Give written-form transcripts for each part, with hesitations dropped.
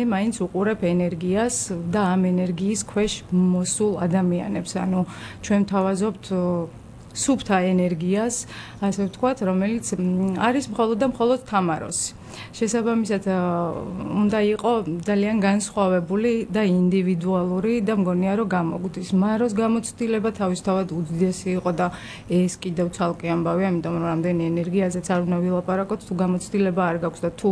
მაინც უყურებ ენერგიას და ამ ენერგიის ქვეშ მოსულ ადამიანებს, ანუ ჩვენ ვთავაზობთ სუფთა ენერგიას, ასე ვთქვათ, რომელიც არის მხოლოდ და მხოლოდ თამაროსი. შესაბამისად, უნდა იყოს ძალიან განსხვავებული და ინდივიდუალური და მგონია, რომ გამოგვდის. მაროს გამოცდილება თავისთავად უდიდესი იყო და ეს კიდევ ცალკე ამბავია, იმიტომ რომ რამდენი ენერგიაზეც არ უნდა ვილაპარაკოთ, თუ გამოცდილება არ გაქვს და თუ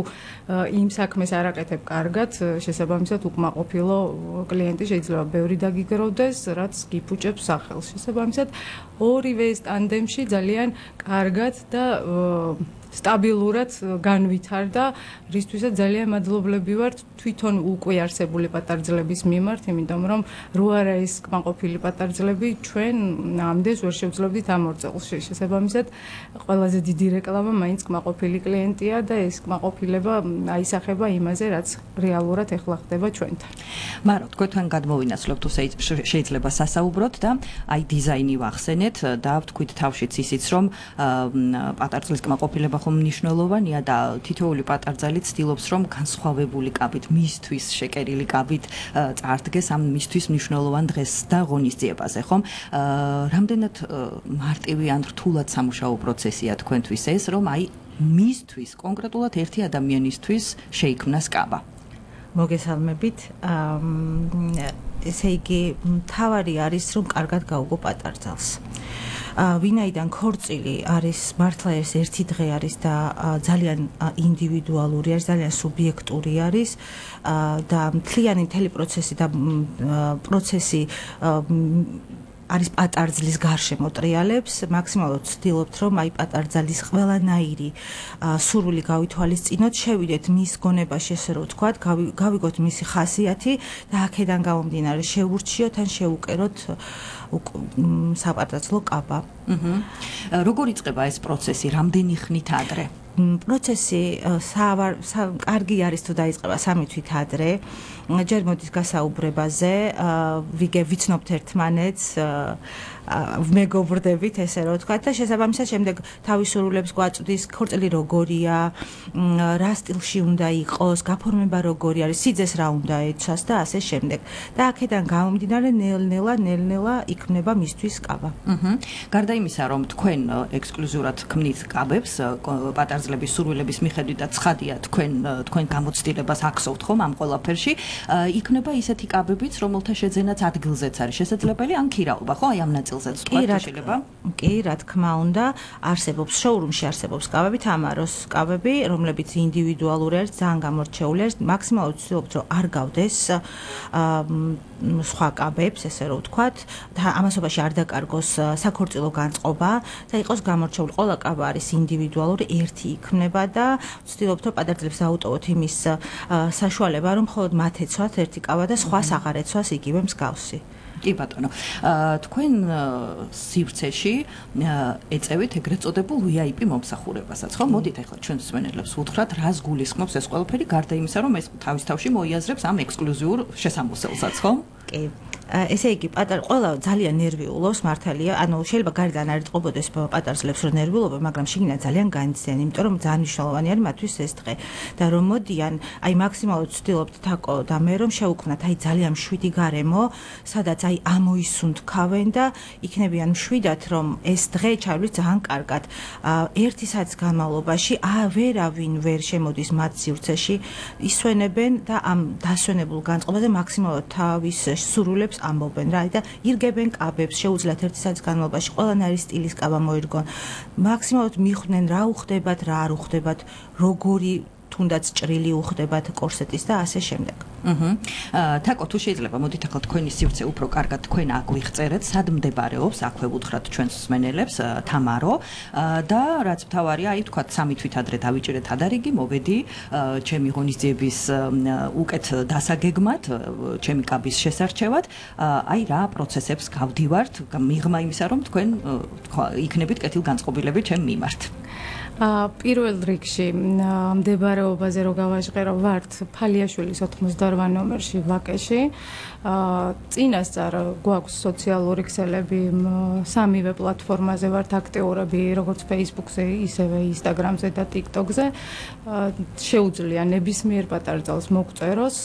იმ საქმეს არ აკეთებ კარგად, შესაბამისად უკმაყოფილო კლიენტი შეიძლება ბევრი დაგიგროვდეს, რაც გიფუჭებს სახელს. შესაბამისად, ორივე ეს ტანდემში ძალიან კარგად და სტაბილურად განვითარდა, რისთვისაც ძალიან მადლობლები ვართ თვითონ უკვე არსებული პატარძლების მიმართ, იმიტომ რომ რო არა ეს კმაყოფილი პატარძლები, ჩვენ ამდენს ვერ შევძლებდით ამ ორ წელს. შესაბამისად, ყველაზე დიდი რეკლამა მაინც კმაყოფილი კლიენტია და ეს კმაყოფილება აისახება იმაზე, რაც რეალურად ეხლა ხდება ჩვენთან. მარო, თქვენ გადმოვინაცვლოთ, თუ შეიძლება სასაუბროთ და აი დიზაინი ვახსენეთ და ვთქვით თავშიც ისიც, რომ პატარძლის კმაყოფილება მნიშვნელოვანია და თითოეული პატარძალი ცდილობს რომ განსხვავებული კაბით, მისთვის შეკერილი კაბით წარდგეს ამ მისთვის მნიშვნელოვან დღეს და ღონისძიებაზე, ხომ? რამდენად მარტივი ან რთულად სამუშაო პროცესია თქვენთვის ეს, რომ აი მისთვის, კონკრეტულად ერთი ადამიანისთვის შეიქმნას კაბა? მოგესალმებით. ესე იგი, მთავარი არის რომ კარგად გაუგო პატარძალს. ვინაიდან ქორწილი არის მართლა ერთი დღე არის და ძალიან ინდივიდუალური არის, ძალიან სუბიექტური არის და მთლიანი პროცესი და პროცესი არის პატარძლის გარშემო ტრიალებს, მაქსიმალურად ვცდილობთ რომ აი პატარძალის ყველანაირი სურვილი გავითვალისწინოთ, შევიდეთ მის გონებაში, ესე რომ ვთქვათ, გავიგოთ მისი ხასიათი და აქედან გამომდინარე შევურჩიოთ ან შევუკეროთ საპატარძლო კაბა. როგორ იწყება ეს პროცესი, რამდენი ხნით ადრე? პროცესი კარგი არის თუ დაიწყება 3 თვით ადრე. ჯერ მოდის გასაუბრებაზე, ვიცნობთ ერთმანეთს, მეგობრდებით, ესე რომ ვთქვათ და შესაბამისად შემდეგ თავის სურვილებს გვაწვდის, ქორწილი როგორია, რა სტილში უნდა იყოს, გაფორმება როგორი არის, სიძეს რა უნდა ეცვას და ასე შემდეგ. და აქედან გამომდინარე ნელ-ნელა იქნება მისთვის კაბა. გარდა იმისა, რომ თქვენ ექსკლუზიურად ქმნით კაბებს, პატარძლების სურვილების მიხედვით და ცხადია თქვენ გამოცდილებას აქცევთ ხომ ამ ყველაფერში, იქნება ისეთი კაბებიც, რომელთა შეძენაც ადგილზეც არის შესაძლებელი, ან ქირაობა, ხო? აი ამ ნაწილზეც თქვა შეიძლება? კი, რა თქმა უნდა, არსებობს შოურუმში არსებობს კაბები, თამაროს კაბები, რომლებიც ინდივიდუალური არის, ძალიან გამორჩეული არის, მაქსიმალურად ვცდილობთ, რომ არ გავდეს სხვა კაბებს, ესე რომ ვთქვათ, და ამასობაში არ დაკარგოს საქორწილო განწყობა და იყოს გამორჩეული. ყველა კაბა არის ინდივიდუალური, ერთი იქმნება და ვცდილობთ, რომ პატარძლებს აუტოვოთ იმის საშუალება, რომ მხოლოდ მათ ეცვათ ერთი კაბა და სხვას აღარ ეცვას იგივე მსგავსი. კი ბატონო, თქვენ სივრცეში ეწევით ეგრეთ წოდებულ VIP მომსახურებასაც, ხო? მოდით ახლა ჩვენ მსმენელებს ვუთხრათ, რას გულისხმობს ეს ყველაფერი, გარდა იმისა, რომ ეს თავის თავში მოიაზრებს ამ ექსკლუზიურ შესამოსელსაც, ხო? კი. ესე იგი, ყველა ძალიან ნერვიულობს, მართალია, ანუ შეიძლება გარედან არ იტყობოდეს პატარძლებს რომ ნერვიულობა, მაგრამ შიგნით ძალიან განიცდიან, იმიტომ რომ ძალიან მნიშვნელოვანი არის მათთვის ეს დღე და რომ მოდიან, აი მაქსიმალურად ვცდილობთ თაკო და მე რომ შევუქმნათ აი ძალიან მშვიდი გარემო, სადაც აი ამოისუნთქავენ და იქნებიან მშვიდად, რომ ეს დღე ჩავლის ძალიან კარგად. ერთი საათის განმავლობაში ვერავინ ვერ შემოდის მათ სივრცეში, ისვენებენ და ამ დასვენებულ განწყობაზე მაქსიმალურად თავის სურვილებს ამბობენ რა და ირგებენ კაბებს, შეუძლიათ ერთი საათის განმავლობაში ყველანაირი სტილის კაბა მოირგონ. მაქსიმალურად მიხვდნენ რა უხდებათ, რა არ უხდებათ, როგორი თუნდაც ჭრილი უხდებათ კორსეტის და ასე შემდეგ. თაკო, თუ შეიძლება, მოდით ახლა თქვენი სივრცე უფრო კარგად თქვენ აგვიხწერეთ, სად მდებარეობს, აქვე ვუთხრათ ჩვენს მსმენელებს, თამარო და რაც მთავარია, აი თქვათ 3 თვით ადრე დავიჭირეთ ადარიგი, მოვედი ჩემი ღონისძიების უკეთ დასაგეგმად, ჩემი კაბის შესარჩევად, აი რა პროცესებს გავდივართ, მიღმა იმისა, რომ თქვენ იქნებით კეთილგანწყობილები ჩემ მიმართ. პირველ რიგში მდებარეობაზე რო გავაჟღერო ვართ ფალიაშვილის 88 ნომერში ვაკეში. წინასწარ გვაქვს სოციალური ქსელები სამივე პლატფორმაზე ვართ აქტიურები, როგორც Facebook-ზე, ისევე Instagram-ზე და TikTok-ზე. შეუძლია ნებისმიერ პატარ ძალს მოგწეროს